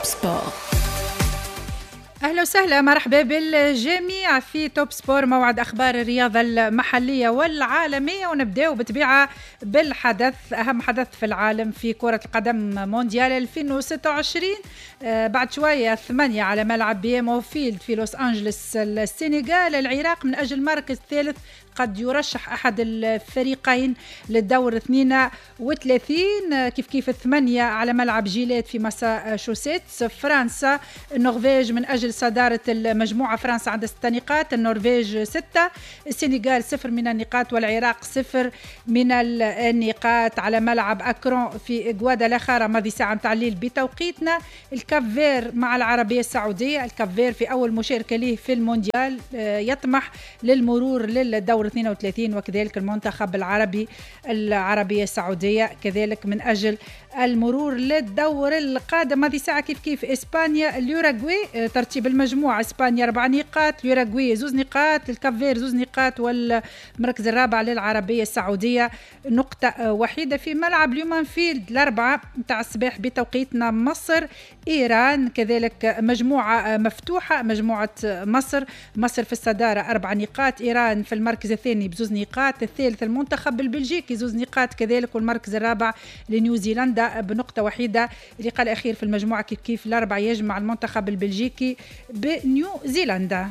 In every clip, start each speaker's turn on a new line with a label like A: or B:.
A: Top Sport.
B: اهلا وسهلا، مرحبا بالجميع في Top Sport، موعد اخبار الرياضة المحلية والعالميه. ونبداو بطبيعة بالحدث، اهم حدث في العالم في كره القدم، مونديال 2026. بعد شوية 8 على ملعب BMO Field في لوس انجلوس، السنغال العراق من اجل المركز الثالث. قد يرشح أحد الفريقين للدور 32. كيف كيف 8 على ملعب جيلات في ماساتشوستس، فرنسا النرويج من أجل صدارة المجموعة. فرنسا عندها 6 نقاط، النرويج 6، السنغال 0 من النقاط، والعراق 0 من النقاط. على ملعب أكرون في غوادالاخارا، ماضي ساعة متاع الليل بتوقيتنا، الكاب فير مع العربية السعودية. الكاب فير في أول مشاركة له في المونديال يطمح للمرور للدور 32، وكذلك المنتخب العربي العربية السعودية كذلك من أجل المرور للدور القادم. هذه ساعة كيف كيف إسبانيا اليوراغواي. ترتيب المجموعة: إسبانيا 4 نقاط، اليوراغواي 2 نقاط، الكاب فير 2 نقاط، والمركز الرابع للعربية السعودية نقطة وحيدة. في ملعب لومان فيلد 4 متاع الصباح بتوقيتنا، مصر إيران، كذلك مجموعة مفتوحة، مجموعة مصر. مصر في الصدارة 4 نقاط، إيران في المركز الثاني ب2 نقاط، الثالث المنتخب البلجيكي 2 نقاط كذلك، والمركز الرابع لنيوزيلندا بنقطة وحيدة. اللقاء الأخير في المجموعة كيف كيف 4 يجمع المنتخب البلجيكي بنيوزيلندا.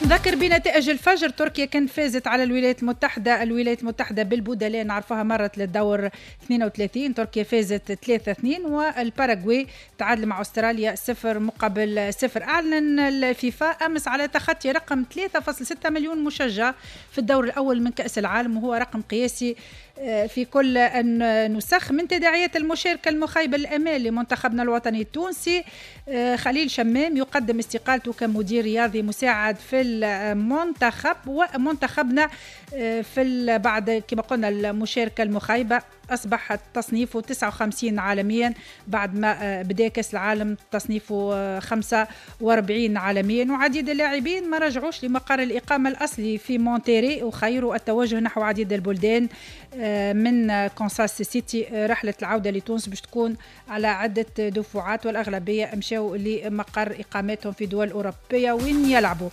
B: نذكر بنتائج الفجر: تركيا كان فازت على الولايات المتحدة، الولايات المتحدة بالبدلاء نعرفها مرت للدور 32، تركيا فازت 3-2، والباراغواي تعادل مع أستراليا 0-0. أعلن الفيفا أمس على تخطي رقم 3.6 مليون مشجع في الدور الأول من كأس العالم، وهو رقم قياسي في كل النسخ. من تداعيات المشاركة المخيبة الأمال لمنتخبنا الوطني التونسي، خليل شمام يقدم استقالته كمدير رياضي مساعد في المنتخب. ومنتخبنا في بعد كما قلنا المشاركة المخيبة أصبح تصنيفه 59 عالميا، بعد ما بدا كأس العالم تصنيفه 45 عالميا. وعديد اللاعبين ما رجعوش لمقر الإقامة الأصلي في مونتيري وخيروا التوجه نحو عديد البلدان من كونساس سيتي. رحلة العودة لتونس باش تكون على عدة دفعات، والأغلبية مشاو لمقر إقامتهم في دول أوروبية وين يلعبوا.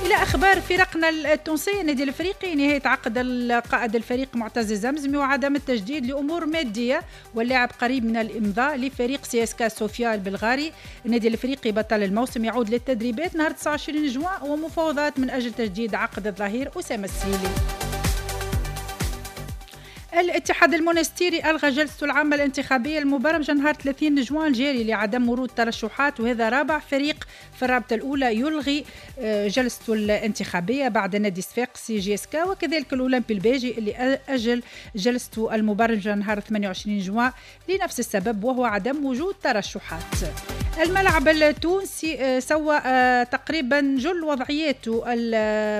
B: إلى أخبار فرقنا التونسية: النادي الأفريقي، نهاية عقد القائد الفريق معتز الزمزمي وعدم التجديد لأمور مادية، واللاعب قريب من الإمضاء لفريق سي اس كا صوفيا البلغاري. النادي الأفريقي بطل الموسم يعود للتدريبات نهار 29 جوان، ومفاوضات من أجل تجديد عقد الظهير أسامة السهيلي. الاتحاد المونستيري ألغى جلسته العامة الانتخابية المبرمجة نهار 30 جوان الجاري لعدم ورود ترشحات، وهذا رابع فريق في الرابطة الأولى يلغي جلسته الانتخابية بعد نادي صفاقسي، JSK، وكذلك الأولمبي الباجي اللي أجل جلسته المبرمجة نهار 28 جوان لنفس السبب، وهو عدم وجود ترشحات. الملعب التونسي سوى تقريبا جل وضعياته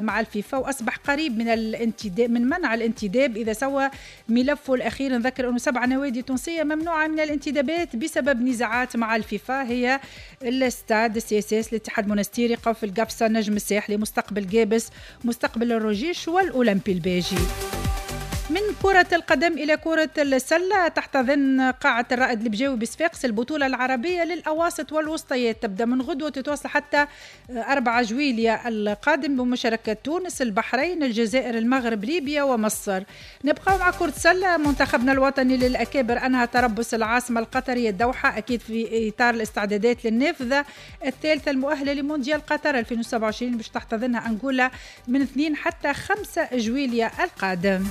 B: مع الفيفا، واصبح قريب من الانتداب، من منع الانتداب اذا سوى ملفه الاخير. نذكر انه 7 نوادي تونسية ممنوعة من الانتدابات بسبب نزاعات مع الفيفا، هي الستاد، ال CSS، الاتحاد المونستيري، قوافل قفصه، نجم الساحلي، مستقبل قابس، مستقبل الرجيش، والاولمبي الباجي. من كرة القدم إلى كرة السلة: تحتضن قاعة الرائد البجاوي بصفاقس البطولة العربية للأواسط والوسطيات، تبدأ من غدوة وتتواصل حتى 4 جويليا القادم، بمشاركة تونس، البحرين، الجزائر، المغرب، ليبيا ومصر. نبقى مع كرة السلة: منتخبنا الوطني للأكابر أنهى تربص العاصمة القطرية الدوحة، أكيد في إطار الاستعدادات للنافذة الثالثة المؤهلة لمونديال قطر 2027، باش تحتضنها أنغولا من 2 حتى 5 جويليا القادم.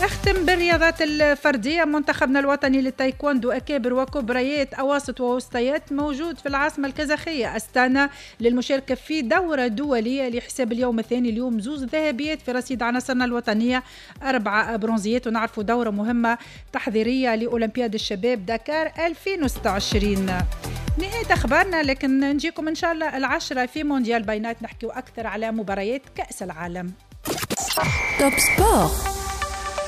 B: اختم بالرياضات الفردية: منتخبنا الوطني للتايكوندو أكابر وكبريات، أواسط ووسطيات، موجود في العاصمة الكازاخية أستانا للمشاركة في دورة دولية لحساب اليوم الثاني. اليوم 2 ذهبيات في رصيد عناصرنا الوطنية، 4 برونزيات، ونعرفوا دورة مهمة تحضيرية لأولمبياد الشباب دكار 2026. نهاية أخبارنا، لكن نجيكم إن شاء الله 10 في مونديال by night، نحكيو أكثر على مباريات كأس العالم.
A: Top Sport.